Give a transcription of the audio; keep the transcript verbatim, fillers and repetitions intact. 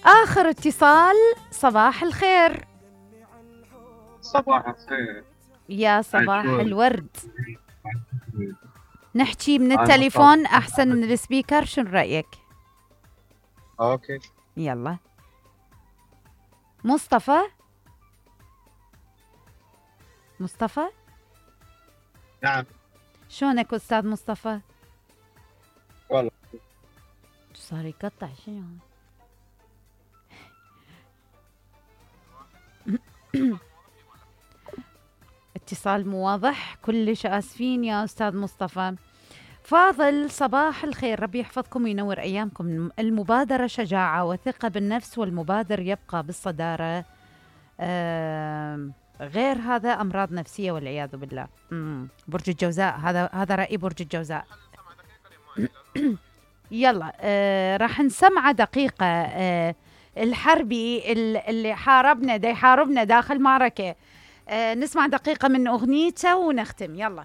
آخر اتصال. صباح الخير. صباح الخير. يا صباح عجول. الورد. نحكي من أنا التليفون مصطفى. أحسن من السبيكر، شو رأيك؟ اوكي. يلا. مصطفى. مصطفى نعم. شلونك أستاذ مصطفى؟ والله صار يقطع شنو؟ اتصال مو واضح، كلش آسفين يا أستاذ مصطفى. فاضل صباح الخير، ربي يحفظكم وينور أيامكم. المبادرة شجاعة وثقة بالنفس، والمبادر يبقى بالصدارة. آه غير هذا أمراض نفسية والعياذ بالله. مم. برج الجوزاء، هذا هذا رأي برج الجوزاء. يلا آه راح نسمع دقيقة. آه الحربي اللي حاربنا دا يحاربنا داخل معركة، آه نسمع دقيقة من أغنيته ونختم. يلا.